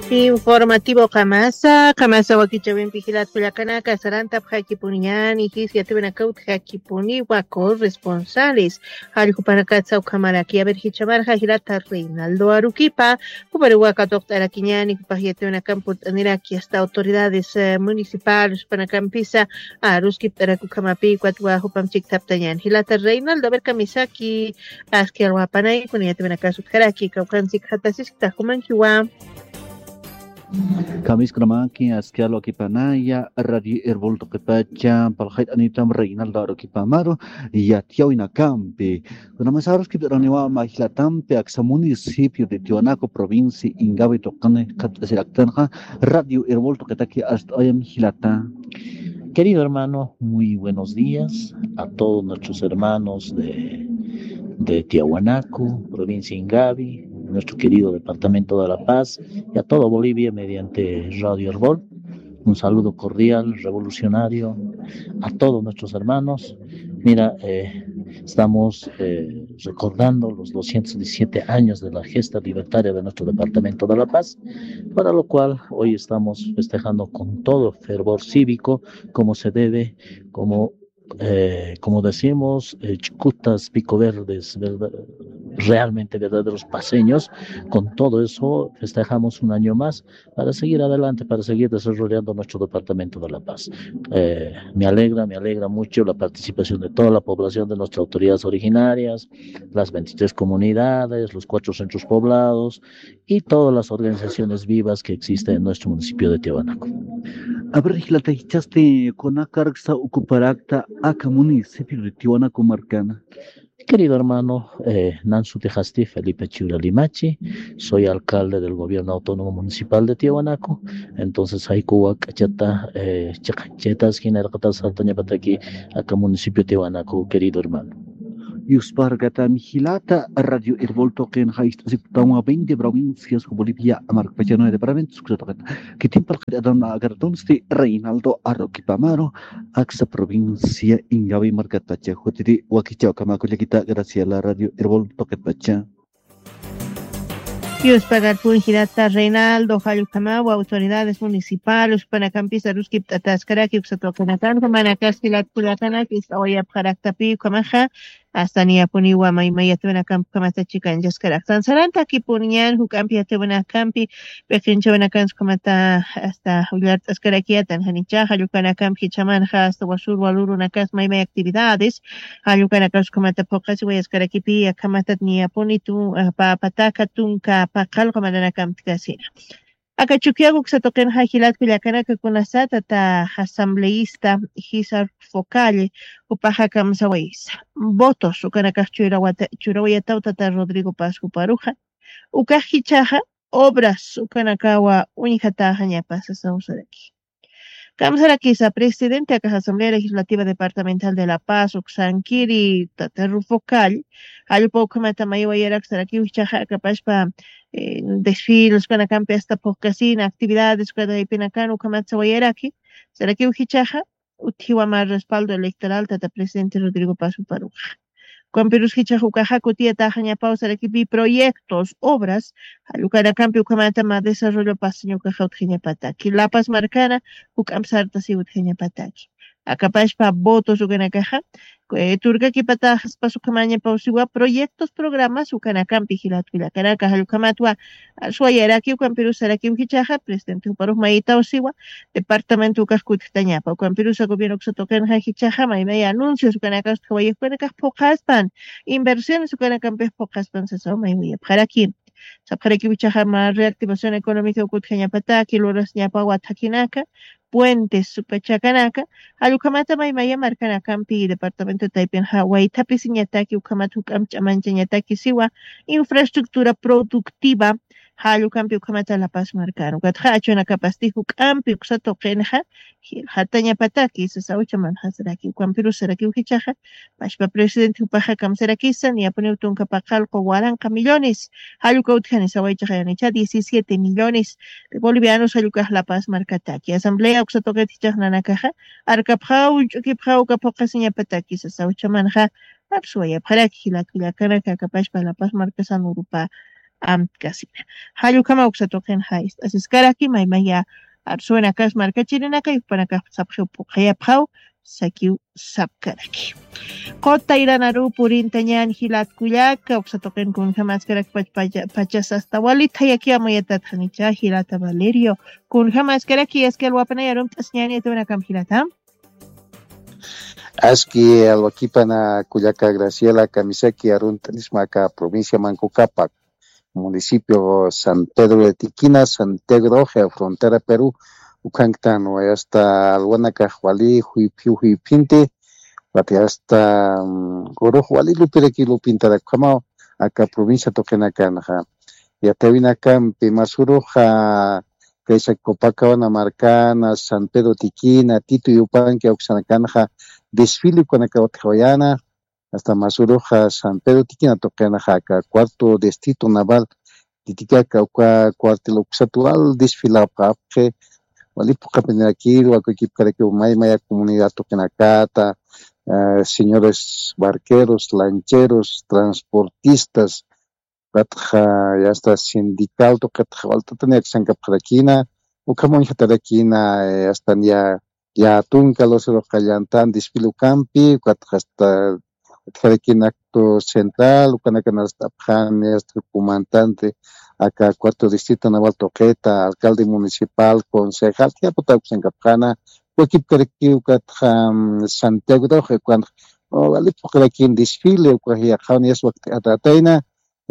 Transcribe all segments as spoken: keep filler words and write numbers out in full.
Informativo qamasa qamasa wakichawimpi jilat kullakanaka sarantapxakipuniñani jis yatiwinakawtxakipuniwa corresponsales. Jalljupanakatsa ukhamaraki aver jichamarxa jilata reinaldo arukipa jupariwa katuqt'arakiñani jupax yatiwinakampi purt'aniraki asta autoridades municipales jupanakampisa aruskipt'arak ukhamapi ukat wajupam chikthaptañan jilata reinaldo aver kamisaki. Aski alwapanay kuna yatiwinakas utjaraki kawqansik jatasiskta jumankiwa. Kamiskunamaki aski alwakipanaya radio herbolto qepacha palqayt'anitam reinaldo arukipamaru yatiyawinakampi. Kunamasaruskipt'araniwa majlatampi aksa municipio de tiwanaco provincia ingavi tuqani qhat'asiraktanqa radio herbolto qetaki ast'ayam jilata. Querido hermano, muy buenos días a todos nuestros hermanos de, de Tiahuanaco, provincia Ingavi, nuestro querido departamento de La Paz y a todo Bolivia mediante Radio Herbol. Un saludo cordial, revolucionario, a todos nuestros hermanos. Mira, eh, estamos eh, recordando los doscientos diecisiete años de la gesta libertaria de nuestro departamento de La Paz, para lo cual hoy estamos festejando con todo fervor cívico, como se debe, como, eh, como decimos, eh, chucutas, pico verdes, ¿verdad? Realmente verdaderos paceños. Con todo eso festejamos un año más para seguir adelante, para seguir desarrollando nuestro departamento de La Paz. Eh, me alegra, me alegra mucho la participación de toda la población de nuestras autoridades originarias, las veintitrés comunidades, los cuatro centros poblados y todas las organizaciones vivas que existen en nuestro municipio de Tiahuanaco. A ver, jilata, jichhasti kunakarksa ukaparakta aka municipio de Tiahuanaco markana. Querido hermano, eh, nan sutixasti Felipe Chiura Limachi, soy alcalde del gobierno autónomo municipal de Tiahuanaco. Entonces, haykuwa k'achata, eh, chiqanchitas, jinarqatas saltañapataki aka municipio Tiahuanaco, querido hermano. Yusparkatami jilata radio herbolto qinxa ist'asiptanwa veinte provincias Bolivia markpachanwa departamentos kusataqata. Kitin palqit adan agartunsti Reinaldo Arroquipamaro aksa provincia Ingavi markatpacha jutiri wakichaw kamakullakita. Gracias la radio herbolto qetpacha. Yuspagarpun jilata Reinaldo jallukamawa autoridades municipales panakampisa ruskipt'ataskaraki uksatwakanakanka manakas jilat kullakanaki ist'awayapxaraktapi ukamaxa. Hasta niyapuniwa maymayatwinakampi ukamata chikanchaskaraktan sarantakipuniñan juk'ampi yatwinakampi. Peqinchawinakansa ukamata hasta willart'askarakiyatan janichaxa llukanakampi jichhamanxa hasta wasur walurunakas maymay actividades. Jallukanakas ukamata phuqasiwayaskarakipi akhamatat niyapuni tu papataka tunka paqallqa mananakampi kasina. Aka chukiyaku uksatuqinxa jilatku llakanaka kunasatata asambleísta jisa focalle upaxa kamsawaysa votos ukanakax churawayataw tata Rodrigo Paz juparuxa. Ukax jichhaxa obras ukanakawa uñjataxañapasa sawsaraki. Kamsarakisa presidente akax asamblea legislativa departamental de la paz uksankiri tata rufo call. Jallpa ukhamata maywayarak sarakiw jichhaxa akapashpa desfiles ukanakampi asta phuqkasina actividades ukataypinakan ukhamat sawayaraki. Sarakiw jichhaxa utjiwa mar respaldo electoral tata presidente Rodrigo Paz juparuxa. Ukampirus jichhax ukaxa kutiyataxañapaw sarakipi proyectos obras jallukanakampi ukhamata ma desarrollo pasaña ukaxa utjañapataki lapas markana juk'amp sartasiw utjañapataki. Akapashpa votos ukanakaxa turkakipataxaspas ukhamañapaw siwa proyectos programas ukanakampi jilatku llakanaka jallukhamatwa. Suwayaraki ukampirus sarakiw jichhaxa presidente juparux mayitaw siwa departamento ukax kutjtañapa ukampirusa gobierno uksatuqinxa jichhaxa maymay anuncios ukanakas utjawayix ukanakax phuqhaspan inversiones ukanakampix phuqhaspan sasaw maywayapxaraki. Sapxarakiw jichhaxa ma reactivación económica ukutjañapataki lurasñapawa thakhinaka puentes ukachakanaka jallukhamata maymaya markanakampi departamento taypinxa waythapisiñataki ukhamata juk'amp ch'amanchañataki siwa infraestructura productiva. Jallukampi ukhamata lapas markana ukatxa achunakapasti juk'ampi uksa tuqinxa jilxatañapataki sasa uchamanxasaraki ukampirusa sarakiw jichhaxa. Pashpa presidente jupaxa kamsarakisa niyapuniw tunka paqallqu waranqa millones jalluka utjani sawaychaxayanicha diecisiete millones de bolivianos jallukax lapas markataki asamblea uksa tuqit jichhax nanakaxa. Arkapxaw ullch'ukipxaw uka phuqasiñapataki sasa uchamanxa. Apsuwayapxaraki jilat kullakanaka akapashpa lapas markasan urupa amtkasina. Jallukama uksatuqin jaist'asiskaraki maymaya arsuwinakas markachirinaka yukpanakax sapxiw puqayapxaw sakiw sapkaraki. Qota iranaru purintañan jilat kullaka uksatuqin kunjamaskarak pachas asta walithayakiwa muyatatxanicha jilata Valerio. Kunjamaskaraki aski alwapanay arumt'asiñani atiwinakam jilata. Aski alwakipana kullaka Graciela kamisaki arunt'anismaka provincia Manco Cápac, municipio San Pedro de Tiquina, Santiago de Oje, frontera Perú, ukanktan wayasta alwanaka wali juyphiw juyphinti, wati hasta urux wali lupiraki lupintarakamaw aka provincia tuqinakanxa. Yatawinakampi masuruxa kaysa Copacabana markana, San Pedro Tiquina, Tito Yupanqui awksanakanxa desfile ukanaka utjawayana, hasta masuruxa San Pedro Tiquina tuqinaxa aka cuarto distrito naval Titicaka uka cuartel uksatuwal desfilapxapxi, wali puqapinirakiru akukipkarakiw may maya comunidad tuqinakata, señores barqueros, lancheros, transportistas, ukatxa yasta sindical tuqitxa walt'atani aksankapxarakina, ukham uñjatarakina, yasta niya ya tunka lucerox qallantan desfile ukampi, ukatxa hasta utjarakina acto central, ukanakan arst'apxani hasta comandante aka cuarto distrito naval tuqita, alcalde municipal, concejal, tiyaputa uksankapxana, wakipkarakiw ukatxa Santiago de Oje, ukanxa wali puqirakin desfile, ukax yaqhawan yasta wakt'atatayna,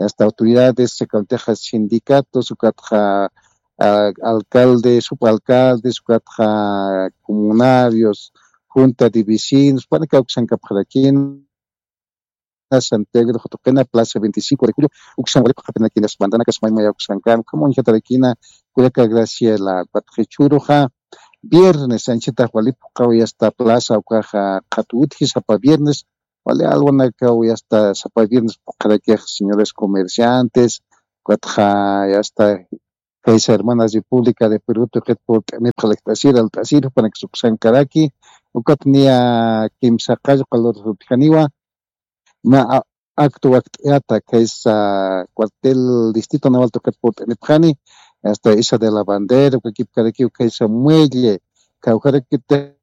hasta autoridades, ukantixa sindicatos, ukatxa alcaldes, subalcaldes, ukatxa comunarios, junta de vecinos, panaka uksankapxarakina, Santiago de Oje tuqina, plaza veinticinco de julio, uksan wali puqapinakinas bandanakas may maya uksankan, ukham uñjatarakina, kullaka Graciela, ukatxa jichhüruxa, viernes, anchhitax wali puqawi hasta plaza ukaxa qhatu utji sapa viernes, wali alwanakaw yasta sapa viernes puqarakix señores comerciantes, ukatxa yasta kaysa hermana República de Perú tuqit purt'anipxalkt'asir alt'asir jupanakis uksankaraki, ukat niya kimsa qallqa luras utjaniwa, mä acto wakt'ata kaysa cuartel distrito naval tuqit purt'anipxani, hasta Isa de la Bandera, ukakipkarakiw kaysa muelle, kawjarakitix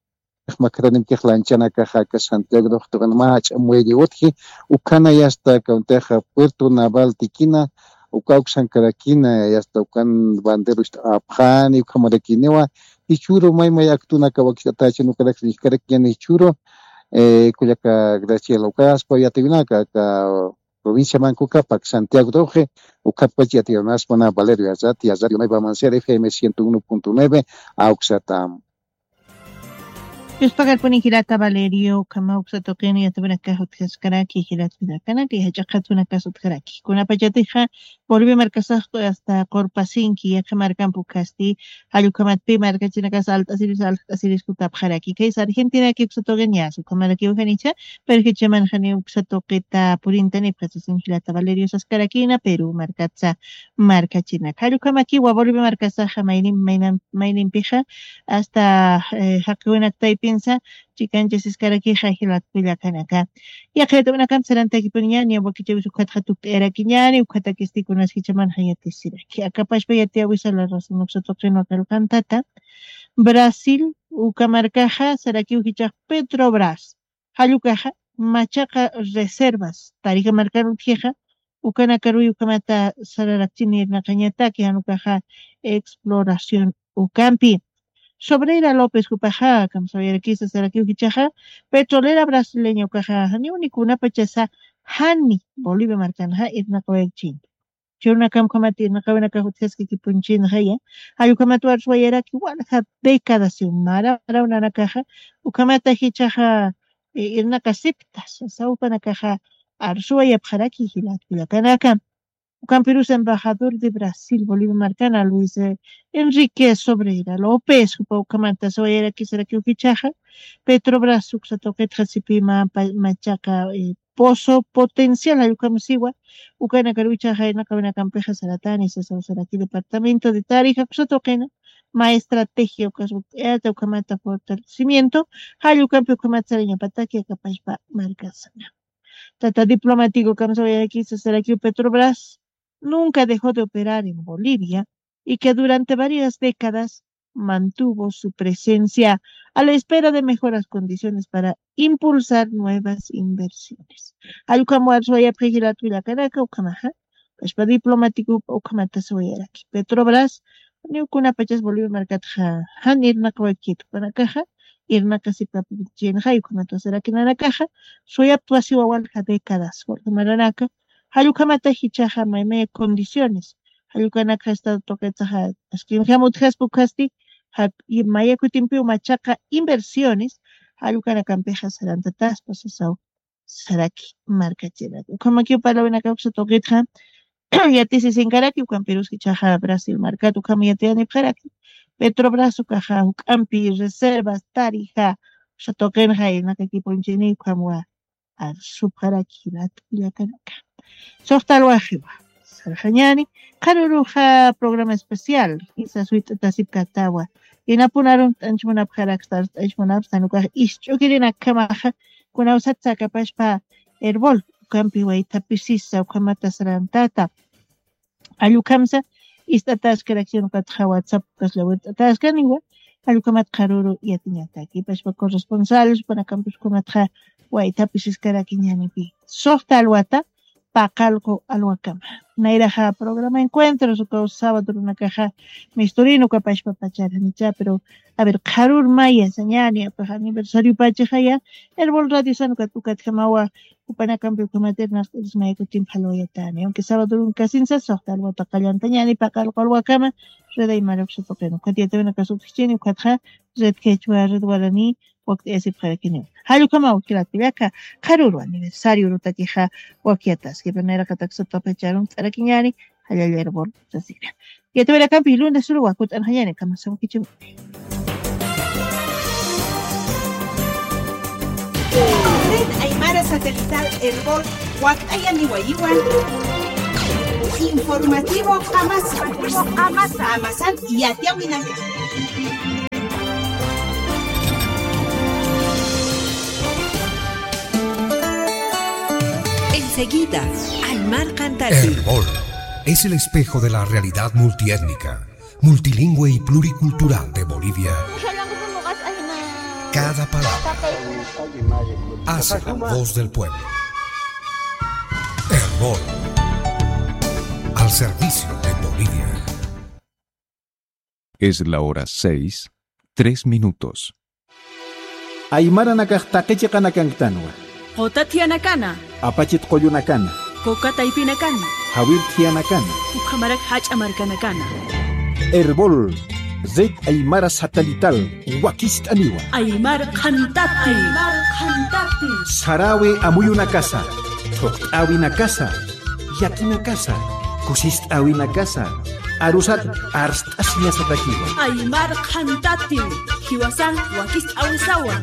makhatanimkix lanchanakaxa aka Santiago de Oje tuqin mä jach'a muelle utji, ukhana yasta kawntix puerto naval Tiquina, uka uksankarakina, yasta ukan bandera ucht'apxani, ukhamarakiniwa, jichhüru may may actonaka wakicht'atachin ukarak uñjkarakiñäni jichhüru, kullaka Graciela, ukaspa yatiwinaka aka provincia Manco Cápac, Santiago de Oje, ukatpach yatiwinaspa Valerio Yazati, Yazati Unay Bamancera, F M ciento uno punto nueve, awksatam. Yuspagarpuni jilata Valerio, ukhama uksa tuqini yatawinakax utjaskaraki, jilat kullakanaka, jach'a qhatunakas utjaraki. Kunapachatixa, Bolivia markasax hasta qurpasinki, yaqha markampi ukhasti, jallukhamatpi markachinakas alt'asiris, alt'asiris kutapxaraki. Kaysa Argentinaki uksa tuqin yas, ukhamarakiw janicha, pero jichhaman jani uksa tuqita purintanipxa sasin jilata Valerio saskarakina, Perú markatsa markachinak. Jallukhamaki wa Bolivia markasaxa maynim, maynam, maynimpixa, hasta, eh, jaqiwinak taypinsa, chikanchasiskarakixa jilat kullakanaka. Yaqha yatawinakamp sarantakipuniñäni, wakichäwis ukhatxa tukt'ayarakiñäni, ukhatakisti kunas jichhamanxa yatisiraki. Akapachpa yatiyäwisa la razón uksa tuqinwa qillqantata. Brasil, uka markaxa, sarakiw jichhax Petrobras. Jall ukaxa, machaqa reservas, Tarija markan utjixa, ukanakaruy ukhamata sararakchini irnaqañataki, jan ukaxa exploración ukampi. Sobreira López jupaxa, kamsawayarakisa sarakiw jichhaxa, petrolera brasileña ukaxa, janiw ni kunapachasa, jani Bolivia markanxa irnaqawayakchini. Churunakam ukhamat irnaqawinakax utjaskakipunchinxaya, jall ukhamat arsuwayaraki walja década siw maraw nanakaxa, ukhamata jichhaxa, eh, irnaqasipta, sasaw jupanakaxa arsuwayapxaraki jilat kullakanaka. Ukampirus embajador de Brasil, Bolivia markana, Luis, eh, Enrique Sobreira López, jupa ukhamata sawayarakisarakiw jichhaxa, Petrobras uksa tuqitxa sipima pa-, machaqa, eh, pozo potencial, jall ukham siwa, ukanakaruw jichhaxa irnaqawinakampixa saratani, sasaw saraki departamento de Tarija uksa tuqina, mä estrategia ukas, eh, ukhamata fortalecimiento, jall ukampi ukhamat sarañapataki akapachpa markasana. Tata diplomático kamsawayarakisa sarakiw Petrobras, nunca dejó de operar en Bolivia y que durante varias décadas mantuvo su presencia a la espera de mejoras condiciones para impulsar nuevas inversiones. Allkam warsuwayapxi jilat willakanaka ukhamaxa, pashpa diplomático ukhamata suwayaraki. Petrobras, niw kunapachas Bolivia markatxa jan irnaqawaykitu, panakaxa irnaqasipapichinxa, ukhamata sarakinanakaxa, suyaptwasiwa walja décadas, walja maranaka, jallukhamata jichhaxa maymaya condiciones, jallukanakxa Estado tuqitsaxa askinjam utjaspa ukhasti, ja-, y maya kutimpiw machaqa inversiones, jallukanakampixa sarantataspa sasaw saraki markachirak. Ukhamakiw parlawinakaksa tuqitxa, yatisisinkaraki, ukham Perus jichhaxa Brasil markat ukham yatiyanipxaraki, Petrobras ukaxa juk'ampi reservas, tarija, usa tuqinxa irnaqakipunchini ukhamwa arsupxaraki jilat willakanaka. Suxta alwaxiwa, sarxañani, qharuruxa programa especial, isa suyt'atasipkatawa, inapun arunt'anchmunapxaraksta, arst'anchmunapxstan ukax isch'ukirinakamaxa, kunawsat sakapashpa Erbol, ukampi waythapisisa, ukhamata sarantata, allukhamsa, ist'ataskarakchini ukatxa WhatsApp kasla wirt'ataskaniwa, allukhamat qharuru yatiñataki, pashpa corresponsal, supanakampis ukhamatxa waythapisiskaraki ñanipi. Suxta alwata, paqallqu alwakama. Nayraxa programa Encuentros, ukaw sábado runakaxa misturin ukapashpa pacharanicha, pero, a ver, qharur maya sañani, apax aniversariopachaxaya, Erbol Radio san ukat, ukatjamawa, Jupanakampi ukhamat irnaqt'arismay kutimpi jalwayatani. Aunque sábado runkasinsa, suxta alwata qallantañani, paqallqu alwakama, Red Aymara uksa tuqin. Ukat yatawinaka sutjichini, ukatxa Red Quechua, Red Guarani, wakt'ayasipxarakini. Jallukhamaw jilat kullaka, qharuru aniversario urutakixa wakyataski. Pero nayraqatak sutapacharun t'arakiñani, jallalla Erbol sasina. Yatawirakampi lunes uru wakut'anxañani, kamasaw kichiw. Red Aymara Satelital Erbol wakt'ayaniwayiwan. Informativo Qamasa. Qamasa. Qamasan yatiyawinaka. Enseguida, Aymar Cantati. Erbol es el espejo de la realidad multiétnica, multilingüe y pluricultural de Bolivia. Cada palabra hace la voz del pueblo. Erbol, al servicio de Bolivia. Es la hora seis, tres minutos. Aymaranakax taqi chiqanakanktanwa. Quta thiyanakana. Apachit qullunakana. Kuka taypinakana. Jawir thiyanakana. Ukhamarak jach'a markanakana. Erbol, Red Aymara Satelital, wakist'aniwa. Aymar Qhantati. Aymar Qhantati. Sarawi amuyunakasa, thuqt'awinakasa, yakinakasa, kusist'awinakasa, arusat arst'asiñasatakiwa. Aymar Qhantati, jiwasan wakist'awisawa.